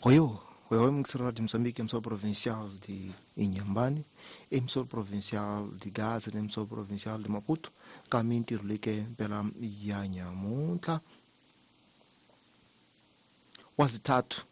Oyo, oyo mixer de Moçambique, emissora provincial de Inhambane, emissora provincial de Gaza, emissora provincial de Maputo, ka mintirho leyi mpela ya nyamuntlha wa zithathu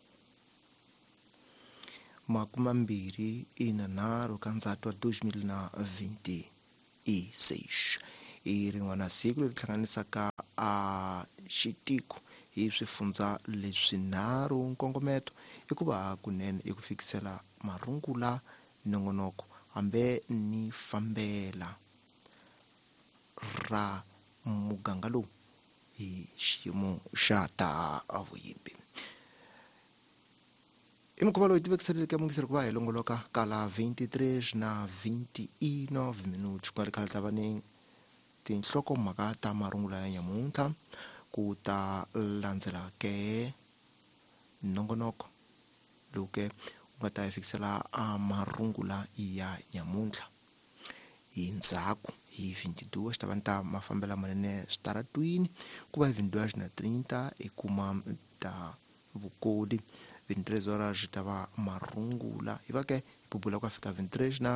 23 ka Ndzati wa 2026 i rin'wana siku leri hlanganisaka a xitiko hi swifundza leswinharhu. Nkongometo i ku va kunene i ku fikisela marungula nongonoko hambe ni fambela ra muganga lowu hi xiyimo xa ta vuyimbi. I mukhuva lowu tivekiseleke mungiseri ku va hi longoloka kala 23 na 29 minuti ku nga ri khale ta va ni tinhlokomhaka ta marungula ya nyamuntlha ku ta landzela ke nongonoko lowu ke wu nga ta hi fikisela a marungula ya nyamuntlha hi ndzhaku hi 22 xi ta va ni ta mafambela manene switaratwini ku va hi 22 na 30 i kuma ta vukoli 23 horas xi ta va marungula hi va ke hi bubula ku ya fika 23 na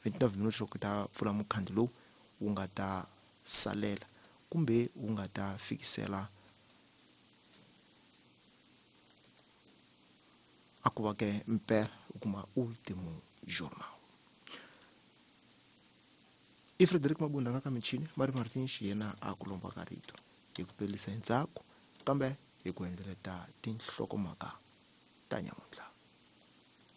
29 minuti loko ta pfula mukhandlu lowu wu nga ta salela kumbe wu nga ta fikisela a ku va ke mpela u kuma ultimo jornal. I Frederick Mabunda nga ka michini Mari Martin xiyena a ku lomba ka rito hi ku pelisa hi ntsako kambe hi ku endleleta tinhlokomhaka ta nyamuntlha.